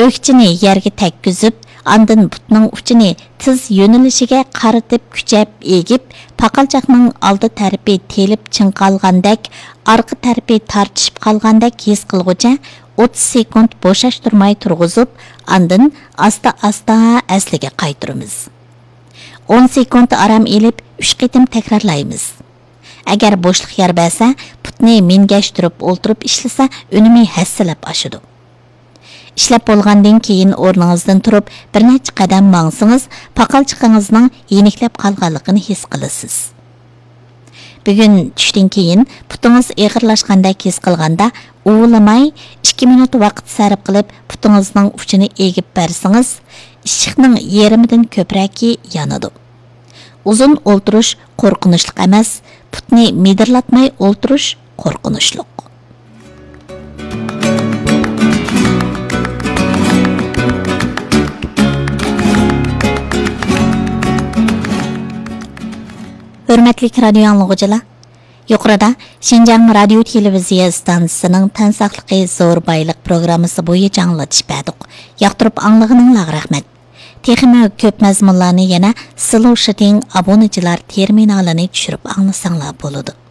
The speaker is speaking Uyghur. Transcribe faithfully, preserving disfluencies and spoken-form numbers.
ئۆكچىنى يەرگە تەگكۈزۈپ، ئاندىن پۇتنىڭ ئۇچىنى تىز يۆنىلىشىگە قارىتىپ كۈچەپ ئېگىپ، پاقالچاقنىڭ ئالدى تەرىپى تېلىپ چىڭقالغاندەك، ئارقا تەرىپى تارتىشىپ قالغاندەك ھېس قىلغۇچە ئوتتۇز سېكۇنت بوشاشتۇرماي تۇرغۇزۇپ، ئاندىن ئاستا-ئاستا ئەسلىگە قايتۇرىمىز. ئون سېكۇنت ئارام ئېلىپ، ئۈچ قېتىم تەكرارلايمىز. ئەگەر بوشلۇق يار بەرسە، پۇتنى مىنگەشتۈرۈپ ئولتۇرۇپ ئىشلىسە، ئۈنۈمى ھەسسىلەپ ئاشىدۇ. ئىشلەپ بولغاندىن كېيىن ئورنىڭىزدىن تۇرۇپ، بىر نەچچە قەدەم ماڭسىڭىز، پاقالچىقىڭىزنىڭ يېنىكلەپ قالغانلىقىنى ھېس قىلىسىز. بۈگۈن چۈشتىن كېيىن پۇتىڭىز ئېغىرلاشقاندەك ھېس قىلغاندا، ئۇۋىلىماي ئىككى مىنۇت ۋاقىت سەرپ قىلىپ، پۇتىڭىزنىڭ ئۇچىنى ئېگىپ بەرسىڭىز، ئىششىقنىڭ يېرىمىدىن كۆپرەكى يانىدۇ. ئۇزۇن ئولتۇرۇش قورقۇنچلۇق ئەمەس، پۇتنى مىدىرلاتماي ئولتۇرۇش قورقۇنچلۇق. ھۆرمەتلىك رادىيو ئاڭلىغۇچىلار، يۇقىرىدا شىنجاڭ رادىيو تېلېۋىزىيە ئىستانسىسىنىڭ تەن ساقلىقى زور بايلىق پروگراممىسى بويىچە ئاڭلىتىش بەردۇق. ياقتۇرۇپ ئاڭلىغىنىڭلارغا رەھمەت. تېخىمۇ كۆپ مەزمۇنلارنى يەنە سلوشىتىڭ ئابۇنىچىلار تېرمىنالىنى چۈشۈرۈپ ئاڭلىساڭلار بولىدۇ.